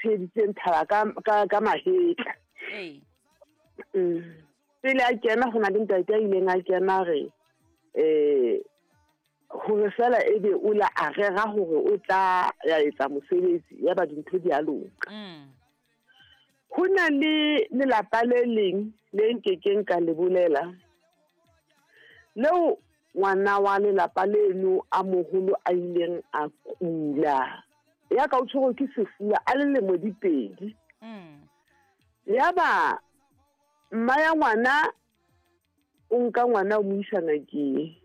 Tsheheditseng thaba ka, ka, ka mahetla. Ee. Pele a kena go na le ntate a ileng a kena re um gore fela e be o la a rera gore o tla ya etsa mosebetsi ya ba dintho di a loka. Go na le lelapa le leng le nkekeng ka le bolela leo ngwana wa lelapa leno a moholo a ileng a kula ya ka o tshwerwe ke sefuba a le lemo di pedi. Ya ba mma ya ngwana o nka ngwana o mo isa ngakeng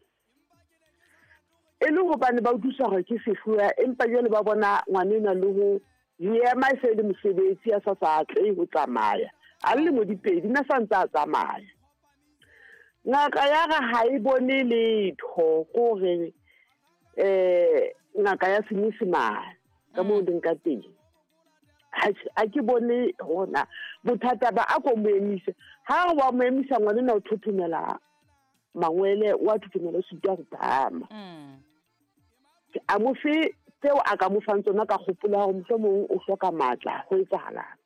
e le gobane ba utlwisa gore ke sefuba, empa jwale ba bona ngwana enwa le ho ema e se le mosebetsi a sa sa atlehe ho tsamaya a le lemo di pedi nna sa ntse a tsamaya. Ngaka ya re ha e bone letho kore ngaka ya Senyesemane ka moo leng ka teng. A ke bone hona bothata ba a ko mo emise. Ha re wa mo emisa ngwana enwa o thothomela mangwele, wa thothomela o sitwa ho phahama. A mo fe tseo a ka mo fang tsona ka kgopola hore mohlomong o hloka matla ho etsahalang.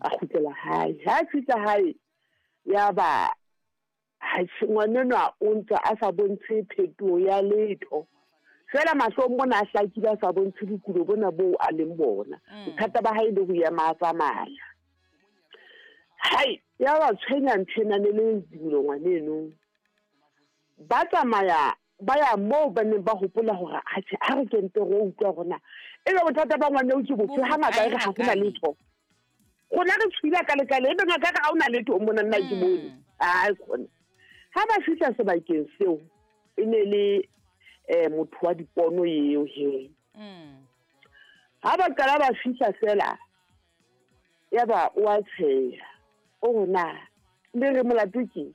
A kgutlela hae. Ha a fihla hae ya ba ngwanenwa o ntse a sa bontshe phetoho ya letho. Fela mahlong mona a hlakile a sa bontshe bokulo bona boo a leng bona. Bothata ba hae le ho ema a tsamaya. Hai, ya ba tshwenya ntho ena ne le dilo ngwaneno. Ba tsamaya ba ya moo ba neng ba hopola hore atjhe ha re kente re utlwa hore na ebe bothata ba ngwaneo ke bofe, ha ngaka e re ha hona letho. Rona re tshwile ka lekale ebe ngaka re ha hona letho mona nna ke bone. Ai khona. Ha ba fihla sebakeng seo e ne le motho wa dipono eo he. Ha ba qala ba fihla fela ya ba o a tsheha. O na le re molato ke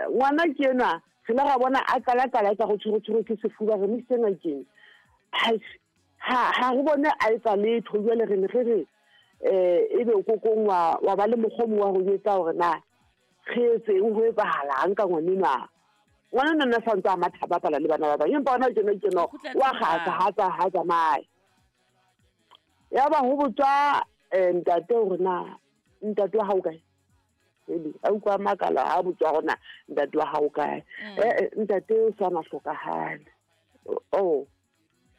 ngwana ke enwa re la ra bona a qala qala ka go tshwere ke sefuba re mo isitse ngakeng. Ha re bone a etsa letho jwale re ne re re ebe kokong wa ba le mokgwa o mong wa ho etsa hore na re etseng ho etsahalang ka ngwanenwa. Ngwana nna sa ntse a matha bapala le bana ba bang empa hona tjena tjena wa kgatsa ha tsamaye. Ya ba ho botswa ntate hore na ntate wa hao kae. Ele a utlwa makala ha botswa hore na ntate wa hao kae. Ntate o sa na hlokahale. Oh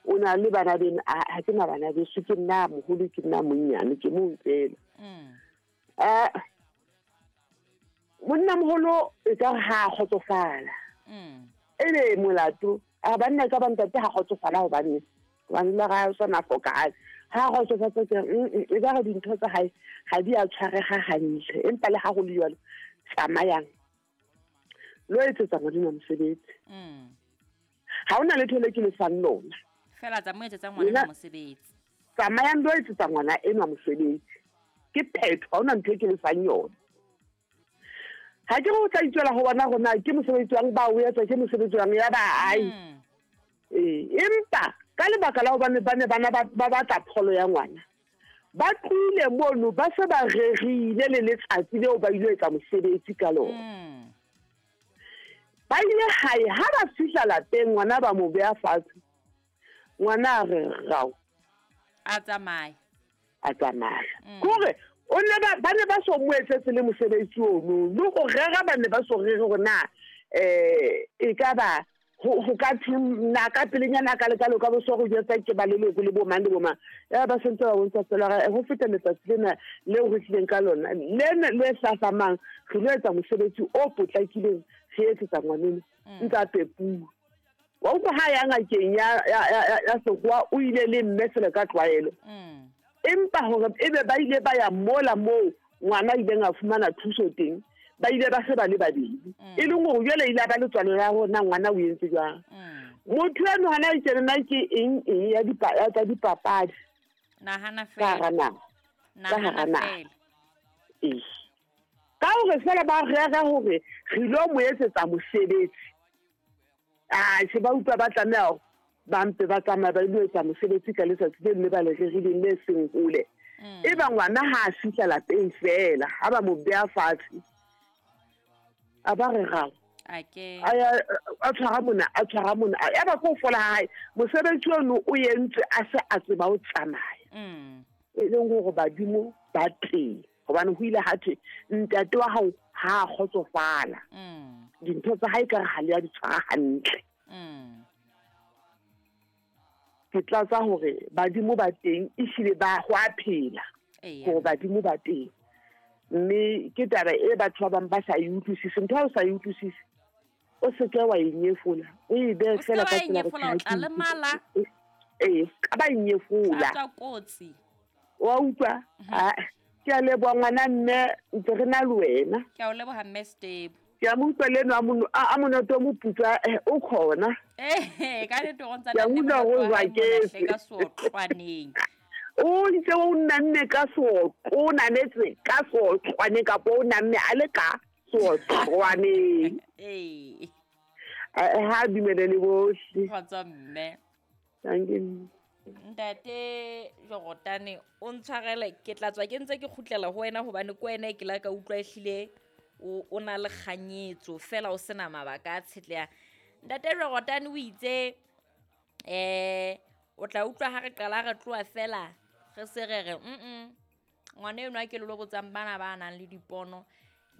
o na le bana beno, ha ke na bana beso, ke nna moholo ke nna monnyane ke mong fela. Monna moholo e ka ha kgotsofala. Ebe molato a banna ka bantate ha kgotsofala hobane hobane la ga sona hlokahale. Ha kgotsofatsa ke e ka re dintho tsa hae ha di a tshwareha hantle empa le ha ho le jwalo tsamayang lo etsetsa ngwana mosebetsi. Ha hona letho le ke le fang lona. Fela tsa mo etsetsa ngwana mosebetsi. Tsamayang lo etsetsa ngwana enwa mosebetsi. Ke phetho ha hona ntho e ke le fang yona. Ha ke go tla itswela ho bona rona ke mosebetsi wang ba o etsa ke mosebetsi wang ya ba ai. Empa ka lebaka la hobane ba ne bana ba batla pholo ya ngwana. Ba tlohile mono ba se ba rerile le letsatsi leo ba ile etsa mosebetsi ka lona. Ba ile hae ha ba fihla lapeng ngwana ba mo beha fatshe. Ngwana a re rao. A tsamaya. A tsamaya. Kore o ne ba ne ba so mo etsetse le mosebetsi ono le go rera ba ne ba so rere hore na e ka ba ho ka na ka pelenyana ka lekalo ka bo so go jetsa ke ba leloko le bo mang le bo mang. Ya ba sentse ba bontsha fela re ho feta letsatsi lena leo re tlileng ka lona lena le hlahlamang re lo etsa mosebetsi o potlakileng re etsetsa ngwaneno ntse a pepuwa. Wa utlwa ha ya ngakeng ya sekgowa o ile le mme fela ka tlwaelo. Empa hore ebe ba ile ba ya mola moo ngwana ileng a fumana thuso teng ba ile ba se ba le babedi. E leng hore jwale ile ba le tswalo ya rona ngwana o entse jwang. Motho eno hana e tjena ke eng eng ya tsa dipapadi. Nahana fela. Nahana fela. Ka hore fela ba rera hore re lo mo etsetsa mosebetsi. Se ba utlwa ba tlameha ba mpe ba tsamaya ba ile etsa mosebetsi ka letsatsi le mme ba le rerileng le seng hole. E ba ngwana ha a fihla lapeng fela ha ba mo beha fatshe. A ba re rao. A tshwara mona, a tshwara mona. Ya ba ko fola hae mosebetsi ono o entse a se a tseba ho tsamaya. E leng hore badimo ba teng hobane ho ile ha thwe ntate wa hao ha a kgotsofala. Dintho tsa hae ekare ha le a di tshwara hantle. Ke tlatsa hore badimo ba teng ehlile ba ho a phela hore badimo ba teng. Mme ke taba e batho ba bang ba sa e utlwisise. Ntho ha o sa e utlwisise o se ke wa e nyefola, o e behe feela ka tsela o tla lemala. Ee, ka ba e nyefola. Tla kotsi. Wa utlwa? Ah, ke a leboha ngwana mme ntse re na le wena. Ke a o leboha mme Stebo. Ke a mo utlwa le eno a monoto o moputswa o khona. Eh, ka nnete o ntsa Ke a utlwa hore o jwaketse. Ka seotlwaneng. O ntse o namme ka seotlo, o nametse ka seotlwaneng kapa o namme a le ka seotlwaneng. Ee. Ha dumele le bohle. Kgotso mme. Thank you. Ntate Jorotane o ntshwarele ke tla tswa ke ntse ke kgutlela ho wena hobane ke wena e ke la ka utlwa ehlile o na le kganyetso fela o sena mabaka a tshetlehang. Ntate Jorotane o itse o tla utlwa ha re qala re tloha fela re se re re ngwana enwa ke le lo botsang bana ba nang le dipono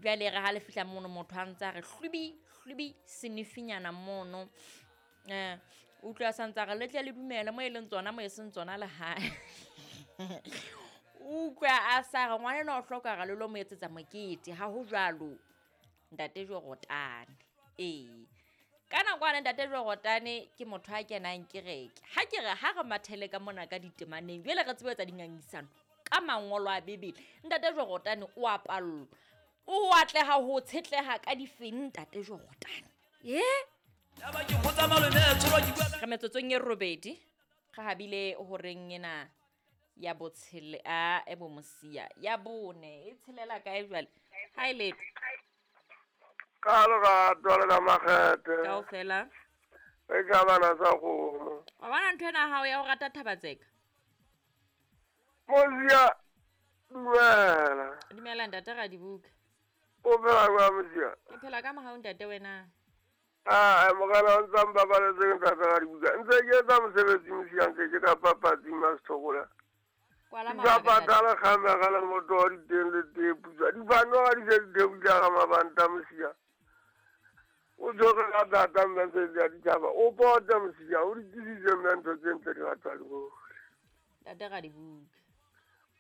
jwale re ha le fihla mono motho a ntse a re hlubi hlubi senifinyana mono. Utlwa sa ntse re le tle le dumele mo e leng tsona mo e seng tsona le hae. Utlwa a sa re ngwana enwa o hloka re le lo mo etsetsa mokete ha ho jwalo ntate Jorotane. Ee. Ka nako ane ntate Jorotane ke motho a kenang kereke. Ha ke re ha re mathele ka mona ka ditemaneng jwale re tsebe etsa dingangisano ka mangolo a Bibele. Ntate Jorotane o a pallwa. O atleha ho tshetleha ka difeng ntate Jorotane. Re metsotsong e robedi re habile horeng ena ya botshele a e bomosia ya bone e tshelela kae jwale ha e letho ka lerato le ka makgethe kaofela e ka bana sa kgomo. Wa bona ntho ena hao ya ho rata Thabatseka Mosia dumela. Dumela ntate Radibuka. O phela jwang Mosia? Ke phela ka mohau ntate wena. Ah, morena o ntsa mpabaletseng ntate Radibuka. Ntse ke etsa mosebetsi Mosia nke ke ka papatsing Masthokola. Kwala Di bapatala kgamega le motho wa diteng le tee putswa. Difano ha di se di theohile ga mabanta Mosia. O tshwere ka thata mme se di a ditjhaba. O pote Mosia, o di tlisitse mme ntho tse ntle di ratwa le bohle. Ntate Radibuka.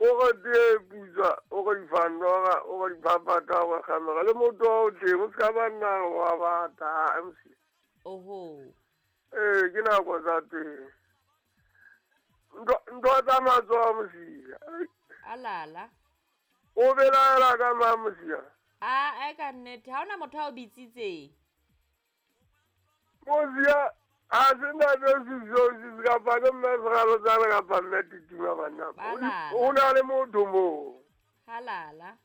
O re tee putswa, o re difanora, o re diphaphatha, o re kgamega le motho wa o teng, o se ka ba nna wa bata Mosia. Oho. Ee, ke nako tsa teng. Ntho tsa matsoho Mosia. Alala. O belaela ka mang Mosia? A ka nnete, ha hona motho a o bitsitseng. Mosia, ha se ntate Sesio kapa ke mme Seralotsane kapa mme Titima banna. O na le motho moo. Halala.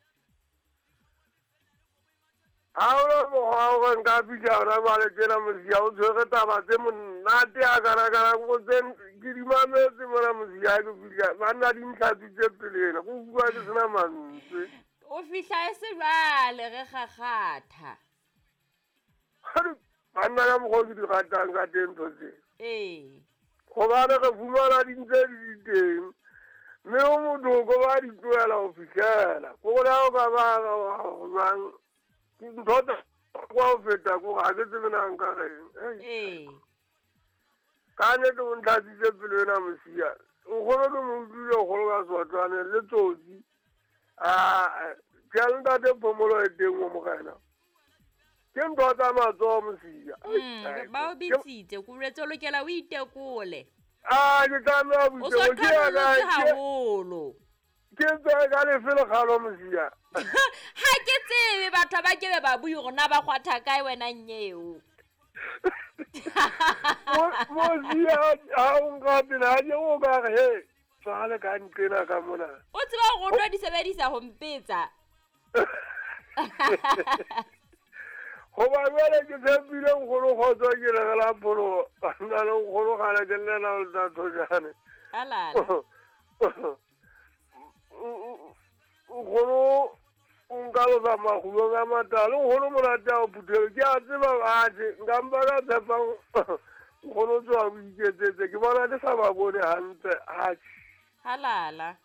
Ha hona mokgwa wa hore nka fihla hona jwale tjena Mosia o tshwere taba tse monate a kana-kana ko tse ke di mametse mona Mosia ke fihla banna di ntlhatswitse pele ena ko bua ke sena mantswe. O fihla e se jwale re kgakgatha. Banna ka mokgwa o ke di ratang ka teng ntho tse. Ee. Hobane re fumana di ntse di le teng. Mme o motho ko ba di tlohela ho fihlela. Ko gore ha o ka ba jwang ntho tsa kwa ho feta ko ha ke tsebe na nka reng. Ee. Ka nnete o ntlatsitse pelo ena Mosia. Nkgono ke mo utlwile kgolo ka seotlwane le tsotsi. Ah, ke a ntate phomolo e teng o morena. Ke ntho tsa matsoho Mosia. Ba o bitsitse, ko boletse o lokela o itekole. Ah, ke tlameha O so qhanollotse haholo. Ke tswe ka lefe lekgalo Mosia? Ha ke tsebe batho ba ke be ba bue hore na ba kgwatha kae wena nyeo. Mosia ha o nka pele ha ke o ka re he tswale ka nqena ka mona. O tseba hore o tlo di sebedisa ho mpetsa. Hoba jwale ke tshepile nkgono kgotso ke re la pholo nna le nkgono kgale ke llela ho tla thojane. Alala. Nkgono o nka losa makgulong a matala, nkgono monate a o phuthelo ke a tseba atjhe nka mpa ka tshepa nkgono o tsoha o iketsetse ke bona ke sa ba bone hantle atjhe. Halala.